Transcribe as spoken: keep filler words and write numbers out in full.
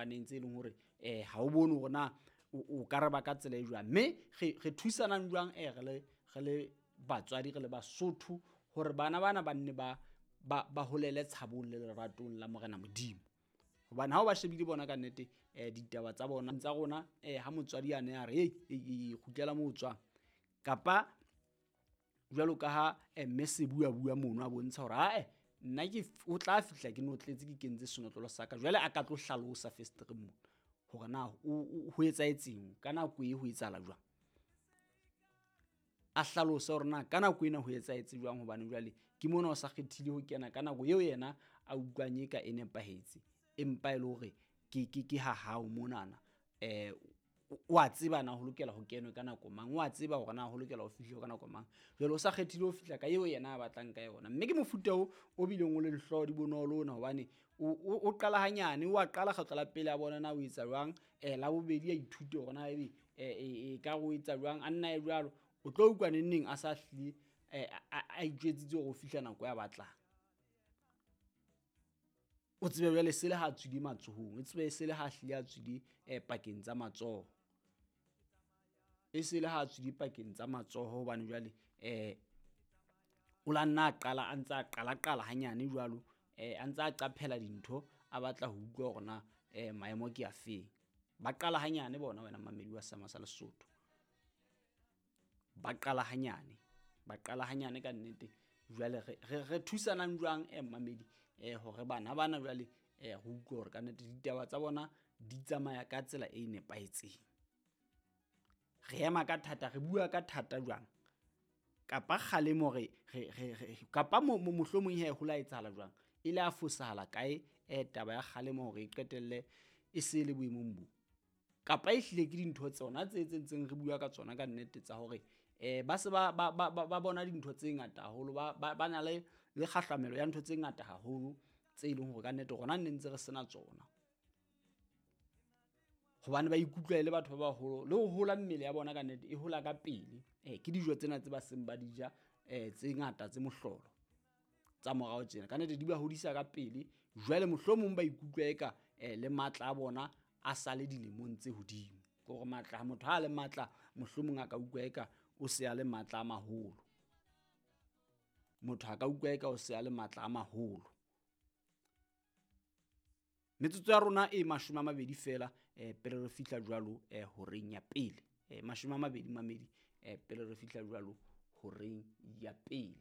fapaneng tse leng hore um ha o bone hore na o ka re ba ka tsela e jwang. Mme re thusanang jwang um re le re le batswadi, re le Basotho, hore bana bana ba nne ba ba holele tshabong le leratong la Morena Modimo. Hobane ha o ba shebile bona ka nnete um ditaba tsa bona tsa rona um ha motswadi a ne a re ei ei kgutlela moo o tswang, kapa jwalo ka ha mme se bua bua mono a bontsha hore ae nna ke o tla fihla ke notletse ke kentse senotlolo sa ka. Jwale a ka tlo hlalosa fesetereng mona hore na ho etsahetseng ka nako e, ho etsahala jwang. A hlalose hore na ka nako ena ho etsahetse jwang, hobane jwale ke mona o sa kgethile ho kena ka nako eo yena a utlwang e ka e nepahetse, empa e le hore ke ke ke ha hao monana. Um o a tseba na ho lokela ho kenwe ka nako mang, o a tseba hore na ho lokela ho fihlwe ka nako mang. Jwale o sa kgethile ho fihla ka eo yena a batlang ka yona. Mme ke mofuta o o bileng o le dihlooho di bonolo ona, hobane o qala hanyane, o a qala kgetlo la pele a bona na o etsa jwang, um la bobedi a ithute hore na ebe e ka re o etsa jwang, a nna e jwalo. O tlo utlwa neng neng a sa hlile a itjwetsitse hore o fihla nako ya batlang. O tsebe jwale se le ha tswile matsohong, o tsebe se le ha hlile a tswile um pakeng tsa matsoho. E se le ha tswile pakeng tsa matsoho, hobane jwale um o la nna a qala a ntse a qala qala hanyane jwalo, um a ntse a qaphela dintho, a batla ho utlwa hore na um maemo ke afeng. Ba qala hanyane bona wena mmamedi wa Seema sa Lesotho. Ba qala hanyane, ba qala hanyane ka nnete. Jwale re re re thusanang jwang eh mmamedi eh hore bana bana jwale eh re utlwe hore ka nnete ditaba tsa bona di tsamaya ka tsela e nepahetseng. Re ema ka thata, re bua ka thata jwang, kapa kgalemo re re re kapa mohlomong he ho la etsahala jwang, e le a fosahala kae eh taba ya kgalemo hore e qetelle e se le boemong bo. Kapa e hlile ke dintho tsona tse tse ntseng re bua ka tsona ka nnete tsa hore um ba se ba ba ba ba bona dintho tse ngata haholo, ba ba na le le kgahlamelo ya ntho tse ngata haholo tse leng hore kannete rona ne ntse re sena tsona. Hobane ba ikutlwa e le batho ba baholo, le ho hola mmele ya bona kannete e hola ka pele. Eh ke dijo tsena tse ba seng ba di ja um tse ngata tse mohlolo tsa morao tjena, kannete di ba hodisa ka pele. Jwale mohlomong ba ikutlwa eka um le matla a bona a sale dilemong tse hodimo. Ke hore matla, motho ha a le matla mohlomong a ka utlwa eka o se a le matla a maholo. Motho a ka utlwa eka o se a le matla a maholo. Metsotso ya rona e mashome a mabedi fela um pele re fihla jwalo um horeng ya pele. Um mashome a mabedi mamedi um pele re fihla jwalo horeng ya pele.